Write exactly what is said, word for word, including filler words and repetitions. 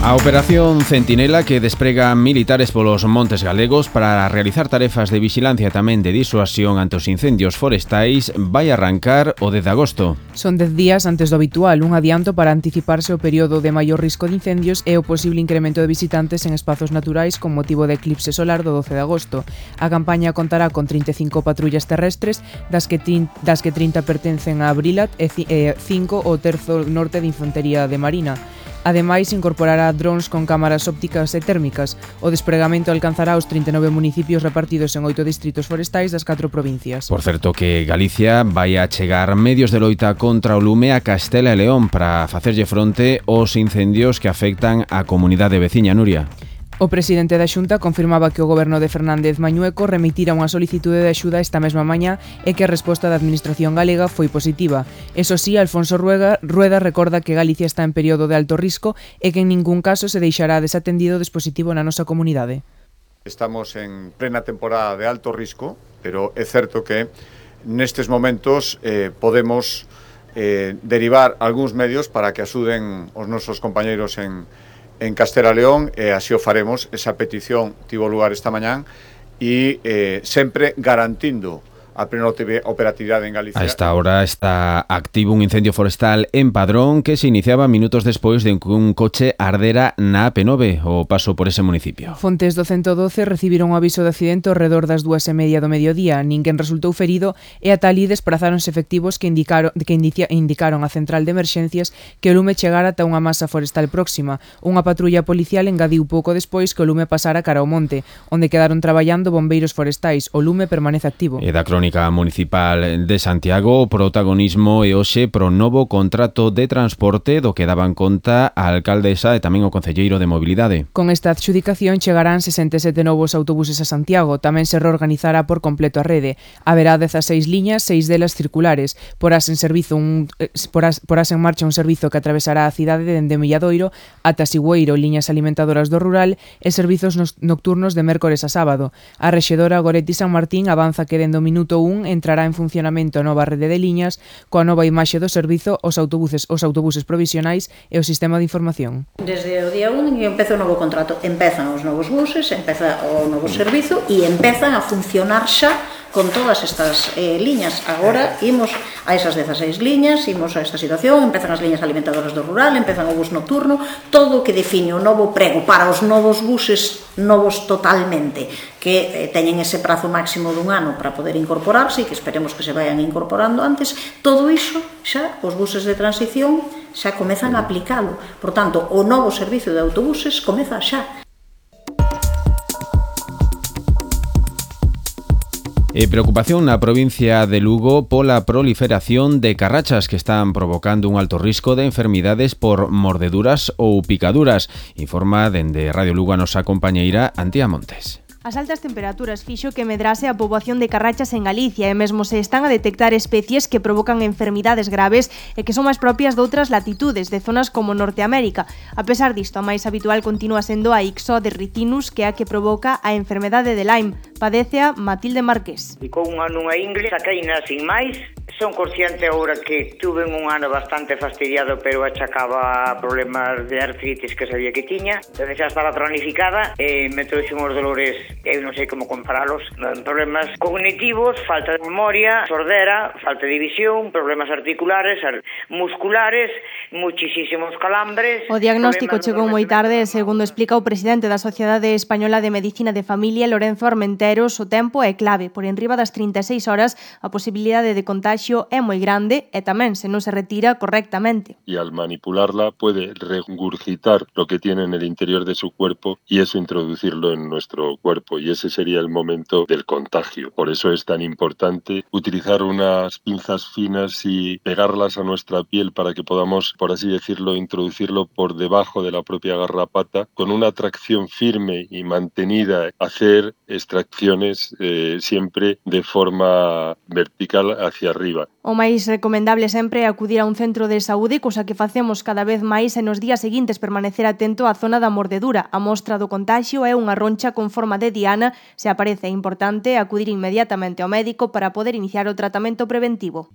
A Operación Centinela, que desprega militares polos montes galegos para realizar tarefas de vixilancia e tamén de disuasión ante os incendios forestais, vai arrancar o dez de agosto. Son dez días antes do habitual, un adianto para anticiparse o período de maior risco de incendios e o posible incremento de visitantes en espazos naturais con motivo de eclipse solar do doce de agosto. A campaña contará con trinta e cinco patrullas terrestres, das que, das que trinta pertencen a Abrilat e cinco o terzo norte de Infantería de Marina. Ademais, incorporará drons con cámaras ópticas e térmicas. O despregamento alcanzará os trinta e nove municipios repartidos en oito distritos forestais das catro provincias. Por certo que Galicia vai a chegar medios de loita contra o lume a Castela e León para facerlle fronte aos incendios que afectan a comunidade veciña. Nuria. O presidente da Xunta confirmaba que o goberno de Fernández Mañueco remitira unha solicitude de axuda esta mesma mañá e que a resposta da administración galega foi positiva. Eso sí, Alfonso Rueda, Rueda recorda que Galicia está en período de alto risco e que en ningún caso se deixará desatendido o dispositivo na nosa comunidade. Estamos en plena temporada de alto risco, pero é certo que nestes momentos eh, podemos eh, derivar algúns medios para que axuden os nosos compañeiros en en Castela e León, e así o faremos. Esa petición tivo lugar esta mañán e eh, sempre garantindo a plena operatividade en Galicia. A esta hora está activo un incendio forestal en Padrón que se iniciaba minutos despois de que un coche ardera na A P nove, o paso por ese municipio. Fontes do ciento doce recibiron un aviso de accidente ao redor das dúas e media do mediodía. Ninguén resultou ferido e ata ali desprazáronse efectivos que indicaron, que indicia, indicaron a central de emerxencias que o lume chegara ata unha masa forestal próxima. Unha patrulla policial engadiu pouco despois que o lume pasara cara ao monte, onde quedaron traballando bombeiros forestais. O lume permanece activo. E da crónica municipal de Santiago, o protagonismo e hoxe pro novo contrato de transporte do que daban conta a alcaldesa e tamén o concelleiro de mobilidade. Con esta adxudicación chegarán sesenta e sete novos autobuses a Santiago. Tamén se reorganizará por completo a rede. Haberá dezaseis liñas, seis delas circulares. Porás en servizo un porás, porás en marcha un servizo que atravesará a cidade dende Milladoiro ata Sigüeiro, liñas alimentadoras do rural e servizos nocturnos de mércores a sábado. A rexedora Goretti San Martín avanza que dende o minuto un entrará en funcionamento a nova rede de liñas coa nova imaxe do servizo, os autobuses, os autobuses provisionais e o sistema de información. Desde o día un que empeza o novo contrato, empezan os novos buses, empeza o novo servizo e empezan a funcionar xa con todas estas eh, liñas. Agora imos a esas dezaseis liñas, imos a esta situación, empezan as liñas alimentadoras do rural, empezan o bus nocturno, todo o que define o novo prego para os novos buses, novos totalmente, que eh, teñen ese prazo máximo dun ano para poder incorporarse e que esperemos que se vayan incorporando antes. Todo iso xa, os buses de transición xa comezan a aplicalo. Por tanto, o novo servicio de autobuses comeza xa. E preocupación na provincia de Lugo pola proliferación de carrachas que están provocando un alto risco de enfermidades por mordeduras ou picaduras, informa dende Radio Lugo a nosa compañeira Antía Montes. As altas temperaturas fixo que medrase a poboación de carrachas en Galicia e mesmo se están a detectar especies que provocan enfermidades graves e que son máis propias de outras latitudes, de zonas como Norteamérica. A pesar disto, a máis habitual continúa sendo a Ixodes ricinus, que é a que provoca a enfermedade de Lyme. Padécea Matilde Marqués. Ficou un ano nunha ingle, saqueina sin máis. Son consciente agora que tuve un ano bastante fastidiado, pero achacaba problemas de artritis que sabía que tiña. Entón xa estaba cronificada e me trouxen os dolores, eu non sei como comparalos, problemas cognitivos, falta de memoria, sordera, falta de visión, problemas articulares, musculares, muchísimos calambres. O diagnóstico chegou moi tarde e, segundo explica o presidente da Sociedade Española de Medicina de Familia, Lorenzo Armenteros, o tempo é clave. Por enriba das trinta e seis horas, a posibilidade de contagio é moi grande e tamén se non se retira correctamente. Y al manipularla puede regurgitar lo que tiene en el interior de su cuerpo y eso introducirlo en nuestro cuerpo, y ese sería el momento del contagio. Por eso es tan importante utilizar unas pinzas finas y pegarlas a nuestra piel para que podamos, por así decirlo, introducirlo por debajo de la propia garrapata, con una tracción firme y mantenida, hacer extracciones eh, siempre de forma vertical hacia arriba. O máis recomendable sempre é acudir a un centro de saúde, cosa que facemos cada vez máis, e nos días seguintes permanecer atento á zona da mordedura. A mostra do contagio é unha roncha con forma de diana. Se aparece, é importante acudir inmediatamente ao médico para poder iniciar o tratamento preventivo.